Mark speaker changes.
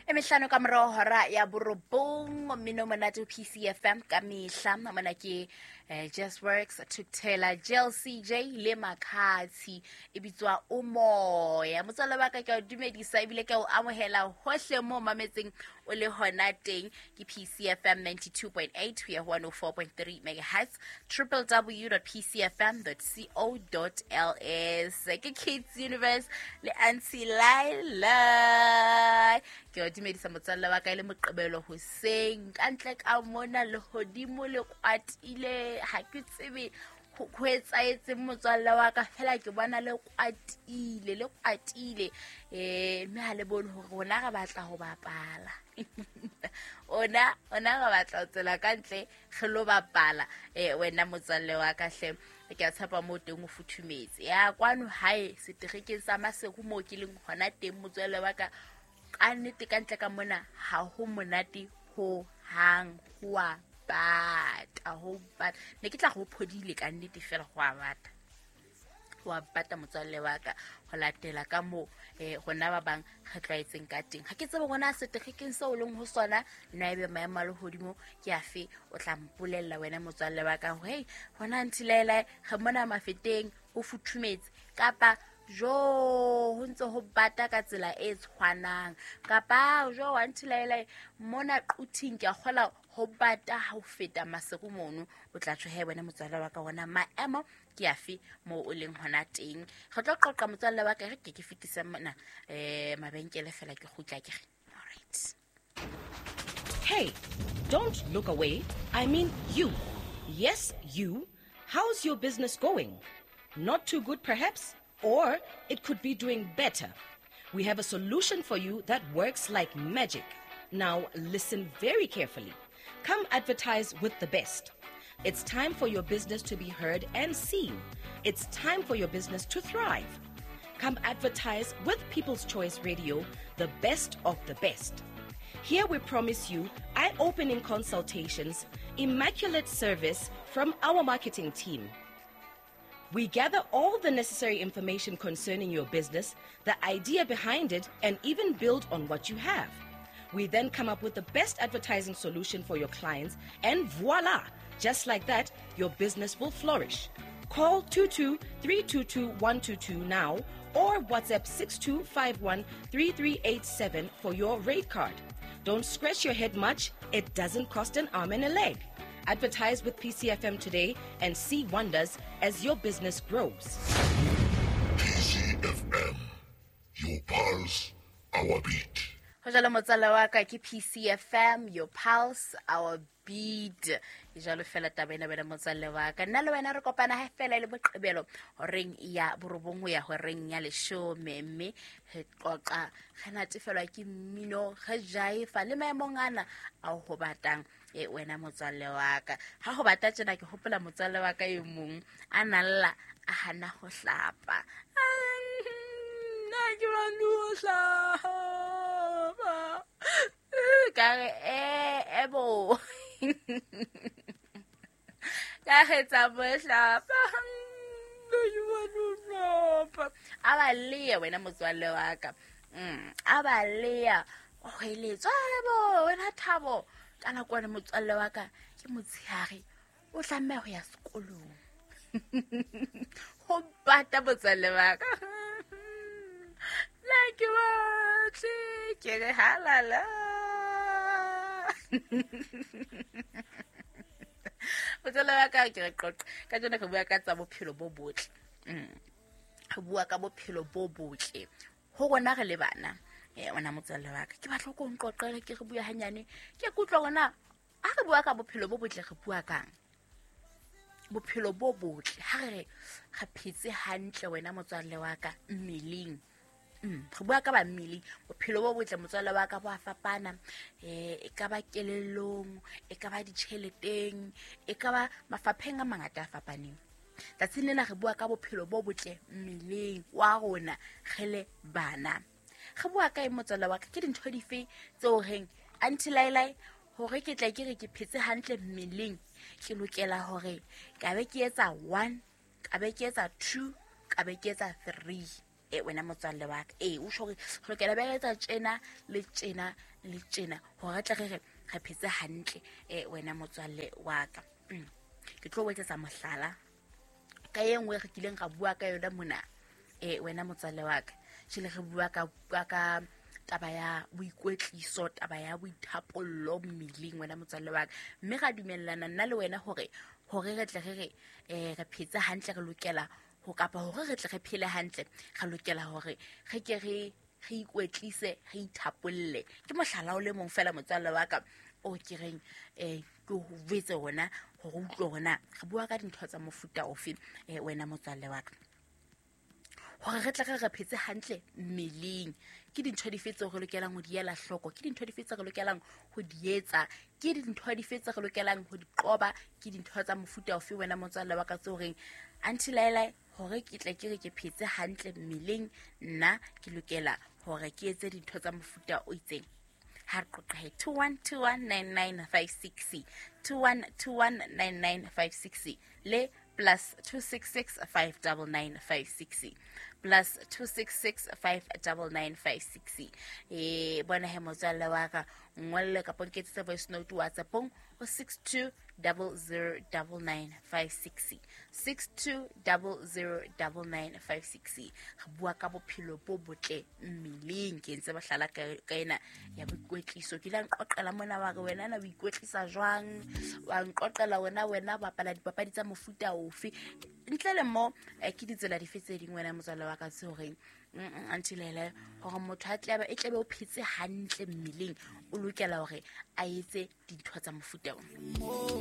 Speaker 1: E mehlano ka morao hora ya borobong, mmino monate PCFM ka mehla. Mona ke Just Works, Thukuthela, JLCJ le Makhathi, e bitswa Umoya. Motswalle wa ka, ke a o dumedisa ebile ke a o amohela hohle mo mametseng o le hona teng. Ke PCFM 92.8 ho ya ho 104.3 megahertz, www.pcfm.co.ls. Ke Kids Universe le Auntie Laila. Ke o dumedisa motswalle wa ka, e le Moqebelo hoseng. Ka ntle ka mona lehodimo le kwatile, ha ke tsebe ho etsaetseng motswalle wa ka, fela ke bona le kwatile, le kwatile, mme ha le bone hore rona re batla ho bapala. Ona re batla ho tswela ka ntle re lo bapala. Wena motswalle wa ka hle, ke a tshepa moo teng o futhumetse. Ya kwano hae seterekeng sa Maseru moo ke leng hona teng, motswalle wa ka, ka nnete ka ntle ka mona ha ho monate ho hang, ho a bata, ho bata. Ne ke tla go phodile ka nnete, fela go a bata, ho a bata motswalle wa ka, ho latela ka moo rona ba bang re tlwaetseng ka teng. Ha ke tsebe rona seterekeng seo o leng ho sona na ebe maemo a lehodimo ke afe, o tla mpolella wena motswalle wa ka hore hei hona nthilaelae re mona Mafeteng ho futhumetse, kapa jo ho ntse ho bata ka tsela e tshwanang, kapa jo wa nthilaelae mona Quthing ke a kgola ho bata ha ho feta Maseru mono. O tla tjho he wena motswalle wa ka, ona maemo ke afe moo o leng hona teng. Re tlo qoqa motswalle wa ka, re ke ke fetise mona mabenkele fela ke kgutla ke re all right.
Speaker 2: Hey, don't look away. I mean you. Yes, you. How's your business going? Not too good, perhaps? Or it could be doing better. We have a solution for you that works like magic. Now, listen very carefully. Come advertise with the best. It's time for your business to be heard and seen. It's time for your business to thrive. Come advertise with People's Choice Radio, the best of the best. Here we promise you eye-opening consultations, immaculate service from our marketing team. We gather all the necessary information concerning your business, the idea behind it, and even build on what you have. We then come up with the best advertising solution for your clients, and voila! Just like that, your business will flourish. Call 22-322-122 now or WhatsApp 6251-3387 for your rate card. Don't scratch your head much. It doesn't cost an arm and a leg. Advertise with PCFM today and see wonders as your business grows.
Speaker 3: PCFM, your pulse, our beat.
Speaker 1: Ho jalo motswala wa ka, ke PCFM, your pulse, our beat. E jalo fela taba ena wena motswalle wa ka. Nna le wena re kopana ha fela e le Moqebelo horeng ya 9 ho ya horeng ya 10, mme re qoqa, re natefelwa ke mmino, re jaifa le maemong ana ao ho batang. Wena motswalle wa ka, ha ho bata tjena ke hopola motswalle wa ka e mong a nalla a hana ho hlapa. Nna ke batle ho hlapa. Ka re, ebo. Ka re tsa mo hlapa. Nna ke batle ho hlapa. A ba leya wena motswalle wa ka. A ba leya. O hweletswa, ebo, wena Thabo. Ka nako ena motswalle wa ka ke motshehare, o tlameha ho ya sekolong. Ho bata motswalle wa ka. Nna ke batle, ke re halala. Motswalle wa ka ke re qoqa. Ka jeno re bua ka tsa bophelo bo botle. Re bua ka bophelo bo botle. Ho rona re le bana. Wena motswalle wa ka, ke batla ko nqoqele, ke re bua hanyane. Ke kutlwa hore na ha re bua ka bophelo bo botle re bua kang? Bophelo bo botle, ha re re re phetse hantle wena motswalle wa ka mmeleng. Re bua ka ba mmeleng, bophelo bo botle motswalle wa ka bo a fapana. E ka ba kelellong, e ka ba ditjheleteng, e ka ba mafapheng a mangata a fapaneng. Tsatsing lena re bua ka bophelo bo botle mmeleng wa rona re le bana. Re bua ka eng motswalle wa ka? Ke dintho dife tseo reng Auntie Lailai hore ke tla ke re ke phetse hantle mmeleng, ke lokela hore ka be ke etsa 1, ka be ke etsa 2, ka be ke etsa 3. E wena motswalle wa ka, ee, o tjho hore re lokela be re etsa tjena le tjena le tjena hore re tle re re re phetse hantle. E wena motswalle wa ka, ke tlo o etsetsa mohlala ka e nngwe re kileng ra bua ka yona mona. E wena motswalle wa ka, jele re bua ka taba ya boikwetliso, taba ya boithapollo mmeleng, wena motswalle wa ka, mme ra dumellana nna le wena hore re tle re re re phetse hantle, re lokela ho kapa hore re tle re phele hantle, re lokela hore re ke re ikwetlise, re ithapolle. Ke mohlala o le mong fela motswalle wa ka o ke reng ke ho jwetse hona hore o utlwe hore na re bua ka dintho tsa mofuta ofe. Wena motswalle wa ka, hore re tle re re phetse hantle mmeleng, ke dintho dife tseo re lokelang ho di ela hloko, ke dintho dife tseo re lokelang ho di etsa, ke dintho dife tseo re lokelang ho di qoba, ke dintho tsa mofuta ofe wena motswalle wa ka tseo reng Aunty Laila, hore ke tle ke re ke phetse hantle mmeleng, nna ke lokela hore ke etse dintho tsa mofuta o itseng. Ha re qoqe 21219956, 21219956 le plus 266 59956, plus 266 59956. Bona he motswalle wa ka, ngolle kapa nketsetse voice note WhatsAppong ho 62009956, 62009956. Re bua ka bophelo bo botle mmeleng. Ke ntse mohlala ka ena ya boikwetliso. Ke la nqoqela mona wa re wena na o ikwetlisa jwang, wa nqoqela wena bapala dipapadi tsa mofuta ofe. Ntle le mo ke ditsela dife tse ding wena motswalle wa ka tse horeng Aunty Laila, hore motho a tlebe e tlebe o phetse hantle mmeleng, o lokela hore a etse dintho tsa mofuta ona.